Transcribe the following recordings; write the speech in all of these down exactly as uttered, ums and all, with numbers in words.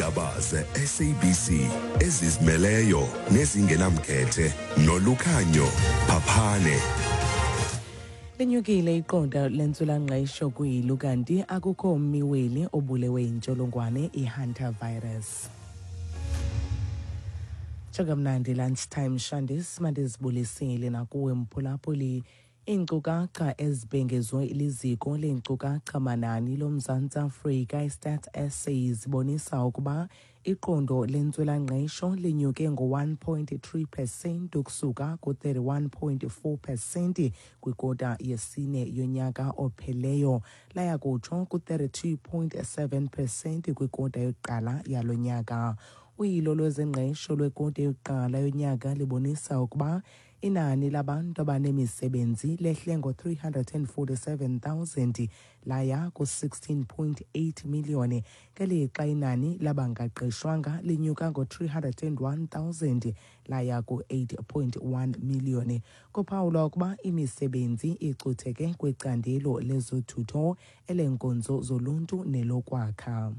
Iindaba ze-S A B C ezizimeleyo nezingenamkhethe noLukhanyo Phaphane. Linyukile iqondo lentswelangqesho kwilu, kanti akukho mmiweli obulewe yintsholongwane i-hantavirus. Njengamnandi lunchtime shandis, mandizibulisile nakuwe mphulaphuli. Iinkcukacha ezibhengezwe liziko leenkcukacha manani loMzantsi Afrika, iStats S A, zibonisa ukuba iqondo lentswelangqesho linyuke ngo-one point three percent ukusuka ku-thirty-one point four percent kwikota yesine yonyaka opheleyo, laya kutsho ku-thirty-two point seven percent kwikota yokuqala yalo nyaka. Uyilo lwezengqesho lwekota yokuqala yonyaka libonisa ukuba inani labantu abanemisebenzi lehle ngo-three hundred and forty-seven thousand laya ku-sixteen point eight million, ngelixa inani labangaqeshwanga linyuka ngo-three hundred and one thousand laya ku-eight point one million. Kuphawulwa ukuba imisebenzi icutheke kwicandelo lezothutho, eleenkonzo zoluntu nelokwakha.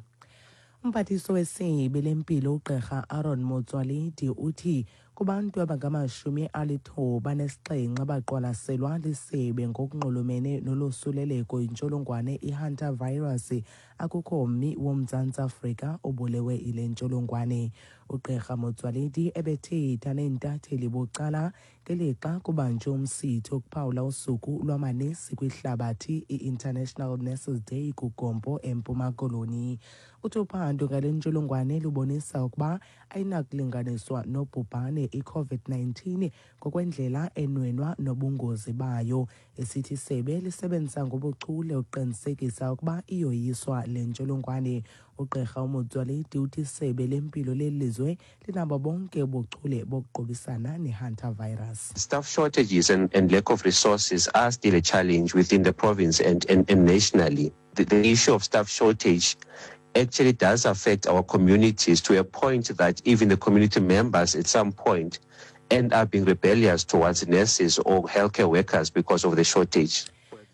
Umphathiswa wesebe lempilo uGqirha Aaron Motsoaledi uthi kubantu abangamashumi alithoba nesixhenxe abaqwalaselwa lisebe ngokunxulumene nolosuleleko yintsholongwane i-hantavirus, akukho mmi woMzantsi Afrika obulewe yile ntsholongwane. UGqirha Motsoaledi ebethetha neentatheli bucala ngelixa kubanjwe umsitho wokuphawula usuku lwamanesi kwihlabathi, i-International Nurses Day, kuGompo eMpuma Koloni. Uthi uphando ngale ntsholongwane lubonisa ukuba ayinakulinganiswa nobhubhane i-COVID nineteen ngokwendlela enwenwa nobungozi bayo, esithi isebe lisebenzisa ngobuchule ukuqinisekisa ukuba iyoyiswa le ntsholongwane. Ugqirha uMotsoaledi uthi isebe lempilo leli lizwe linabo bonke ubuchule bokuqubisana ne-hantavirus. Staff shortages and, and lack of resources are still a challenge within the province and, and, and nationally. The, the issue of staff shortage actually does affect our communities to a point that even the community members at some point end up being rebellious towards nurses or healthcare workers because of the shortage.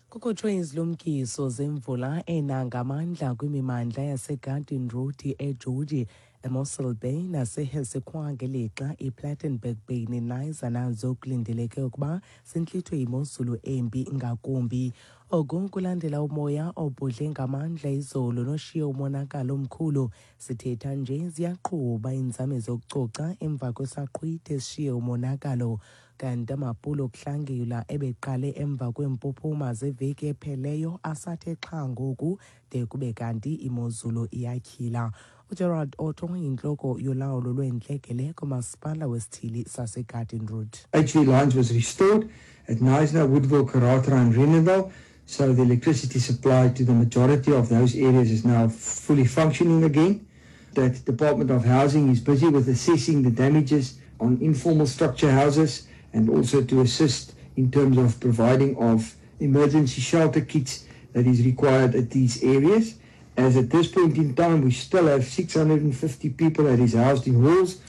Kukhutshwe izilumkiso zemvula ena ngamandla kwimimandla yaseGarden Route, eGeorge, eMossel Bay naseHessequa, ngelixa iPlattenberg Bay neKnysna nazo kulindeleke ukuba zintlithwe yimozulu embi ngakumbi. Oku kulandela umoya obhudle ngamandla izolo noshiye umonakalo omkhulu. Sithetha nje ziyaqhuba iinzame zokucoca emva kwesaqhwithi esishiye umonakalo, kanti amaphulo okuhlangula ebeqale emva kweempuphuma zeveki epheleyo asathe xha ngoku de kube kanti imozulu iyatyhila. UGerald Otto yintloko yolawulo lweentlekele kumasipala wesithili saseGarden Route. H V lines was restored at Knysna, Woodville, Karatra and Rheenendal. So the electricity supply to the majority of those areas is now fully functioning again. That Department of Housing is busy with assessing the damages on informal structure houses and also to assist in terms of providing of emergency shelter kits that is required at these areas. As at this point in time, we still have six hundred fifty people that is housed in halls.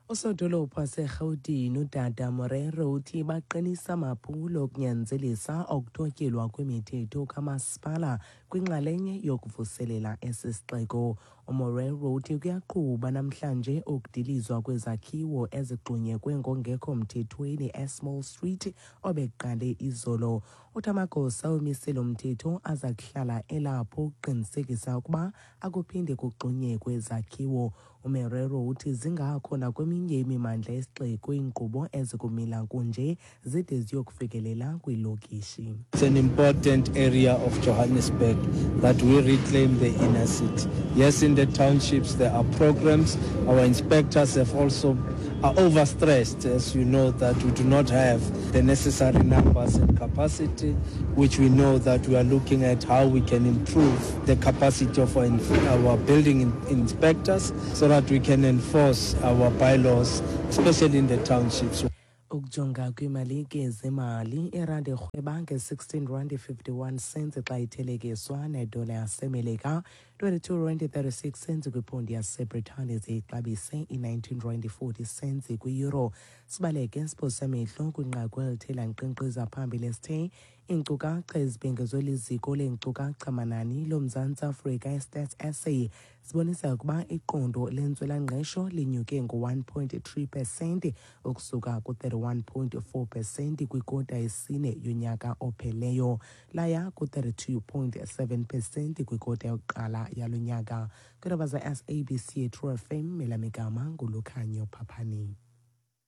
Usodolophu waseRhawutini uDada Morero uthi baqinisa amaphulo okunyanzelisa okuthotyelwa kwemithetho kamasipala kwinxalenye yokuvuselela esi sixeko. UMorero uthi kuyaqhuba namhlanje ukudilizwa kwezakhiwo ezigxunyekwe ngongekho mthethweni eSmall Street obeqale izolo. Uthi amagosa omiselo mthetho aza kuhlala elapho ukuqinisekisa ukuba akuphinde kugxunyekwe izakhiwo. UMerero uthi zingakho nakweminye imimandla yesixeko iinkqubo ezikumila kunje zide ziyokufikelela kwiilokishi. It's an important area of Johannesburg that we reclaim the inner city. Yes, in the townships there are programs. Our inspectors have also are overstressed, as you know, that we do not have the necessary numbers and capacity, which we know that we are looking at how we can improve the capacity of our, our building in, inspectors so that we can enforce our bylaws, especially in the townships. Ukujonga kwiimalike zemali, irandi irhweba nge-sixteen rand fifty-one cents xa ithelekiswa nedola yaseMelika. twenty-two rand thirty-six cents kwiponti yaseBritane, ziyixabise i-nineteen rand forty cents kwi-euro. Sibaleke siphosa amehlo kwinqaku elithe lankqenkqeza phambili esithe iinkcukacha ezibhengezwe liziko leenkcukacha manani loMzantsi Afrika, iStats S A, zibonisa ukuba iqondo lentswelangqesho linyuke ngo-one point three percent ukusuka ku-thirty-one point four percent kwikota yesine yonyaka opheleyo laya ku-thirty-two point seven percent kwikota yokuqala yalo nyaka. Kwiindaba za-S A B C True F M, elamigama nguLukhanyo Phaphani.